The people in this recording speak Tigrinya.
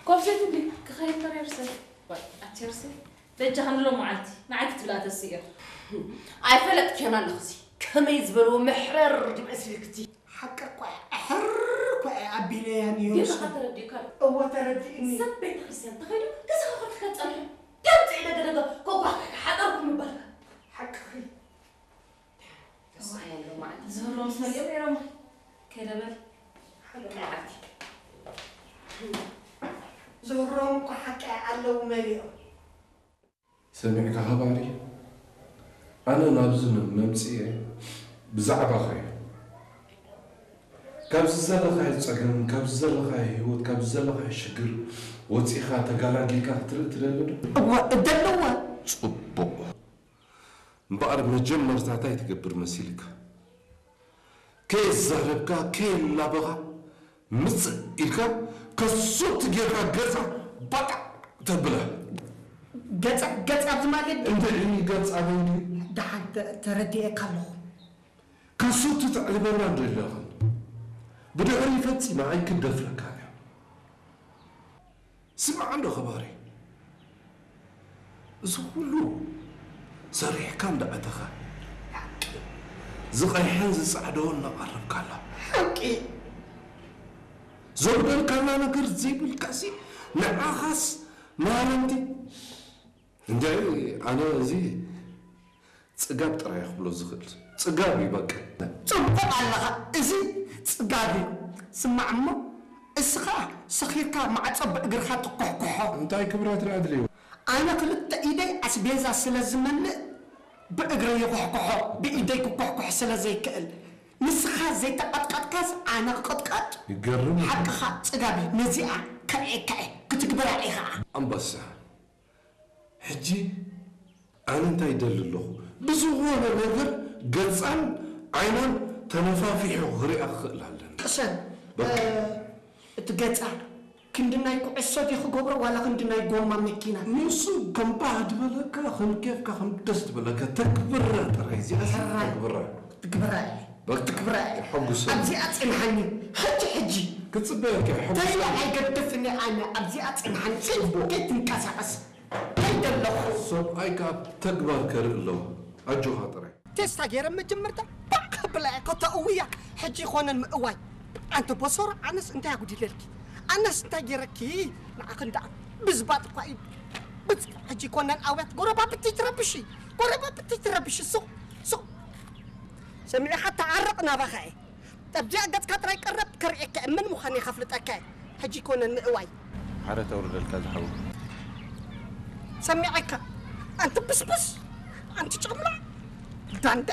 ኮፍሸት እንዲ ክኸይድ ተሪርሰ ኣቸርሲ በጃ ክንሎ መዓልቲ ንዓይ ክትብላ ተስእዮ። ኣይፈለጥክዮን ኣለኽሲ ከመይ ዝበልዎ መሕረር ድመስልክቲ። ሓቂ እኳ እያ፣ ኣሕር እኳ እያ ኣቢለያ ነይሩ። ጌርካ ተረዲእካ ዶ? እወ ተረዲእኒ። ሰብ ቤተ ክርስቲያን ተኸይዱ ገዛኻ ከፊትካ ትጸንሑ? ከምዚ ኢለ ገደጋ ኮኳ ሓጠርኩ ምባልካ። ሓቅኺ። ተስፋ ያለው ማለት ነው። ዝህሮም ሰሊኦም ነይሮም። ከይደ በል። ሓደ መዓልቲ። ዝህሮም እኮ ሓቂ ኣለዉ መሊኦም። ሰሚዕካ ኸባሪ፣ ኣነ ናብዚ መምፅኤ ብዛዕባኻ እዩ። ካብዚ ዘለኻዮ ፀገም፣ ካብዚ ዘለኻዮ ህይወት፣ ካብዚ ዘለኻዮ ሽግር ወፂእኻ ተጋላጊልካ ክትርኢ ትደሊ ዶ? እወ እደልዎ። ፅቡቕ። እምበኣር መጀመርታ እንታይ ትገብር መሲልካ? ከየዛረብካ ከየላበኻ ምፅእ ኢልካ ከሱቲ ጌርካ ገፃ ባጣ ተብላ። ገፃ ገፃ ኣብዚ ማለት እንድዒ ገፃ በይዲ ደሓን ተረዲኤካ ኣለኹ። ከሱቲ ተዕልበና እንዶ ኣለኽን ብድሕሪ ፈፂማ ኣይክደፍረካን እያ። ስማዕ እንዶ ኸባሪ፣ እዚ ኩሉ ሰሪሕካ እንዳኣተኻ ዝቐይሐን ዝጻዕደወን እናቐረብካላ ሓቂ ዘጉደልካላ ነገር ዘይብልካሲ ንዓኻስ ማረምቲ እንደ ኣነ እዚ ጽጋብ ጥራይ ክብሎ ዝኽእል ጽጋብ እዩ በቃ። ጽቡቕ ኣለኻ፣ እዚ ጽጋብ እዩ። ስማዕ እሞ እስኻ ሰኺርካ ማዕጾ ብእግርኻ ትኩሕኩሖ። እንታይ ክብረት ኣድልዩ? ኣነ ክልተ ኢደይ ኣስቤዛ ስለ ዝመልእ ብእግረይ ይኹሕኩሖ፣ ብኢደይ ክኩሕኩሕ ስለ ዘይክእል። ንስኻ ዘይተቐጥቀጥካስ ኣነ ክቕጥቀጥ? ይገርም። ሓቅኻ ጽጋብ እዩ። ነዚኣ ከርኤካ እየ፣ ክትግብራ ኢኻ። ኣንበሳ ሕጂ ኣነ እንታይ ይደሊ ኣለኹ? ብዝኾነ ነገር ገጻን ዓይናን ተነፋፊሑ ክሪኣ ክኽእል ኣለኒ። ቅሰን በቃ። እቲ ገጻ ክንዲ ናይ ኩዕሶ ድዩ ክገብሮ ዋላ ክንዲ ናይ ጎማ መኪና? ንሱ ከም ባህ ዝበለካ ከም ኬፍካ ከም ደስ ዝበለካ ተግብራ ጥራይ እዚኣ ሕራይ። ተግብራ። ትግብራ እየ። በቃ ትግብራ እየ። የሐጉሰኒ። ኣብዚኣ ጽንሓኒ ሕጂ ሕጂ ክጽበየካ የሐጉሰኒ። ተይላ ኣይገድፍኒ ኣነ ኣብዚኣ ጽንሓኒ ጽቡቅ። ከይትንቀሳቐስ ከይደለኹ። ሰብኣይካ ተግባር ከርኢ ኣለዎ ኣጆኻ ጥራይ። ቴስታ ገይረ መጀመርታ ባዕ ከብላ እያ ኮታ እውያ ሕጂ ይኾነን ምእዋይ ኣንቲ ቦሶሮ ኣነስ እንታይ ኣጉዲለልኪ ኣነስ እንታይ ገይረኪ ንዓኽን ደኣ ብዝባጥ እኳ እዩ ብጽ ሕጂ ይኮነን ኣውያት ጎረባብቲ ትረብሺ ጎረባብቲ ትረብሺ ሱቕ ሱቕ ሰሚዕኻ ተዓረቕ ናባኻ እየ ጠብዚኣ ገጽካ ጥራይ ቀረብ ከርእየካ እየ መን ምዃን እየ ከፍልጠካ እየ ሕጂ ይኮነን ምእዋይ ሓረ ተውርደልካ ዝሓው ሰሚዐካ ኣንቲ ብስብስ ኣንቲ ጨምላ ዳንደ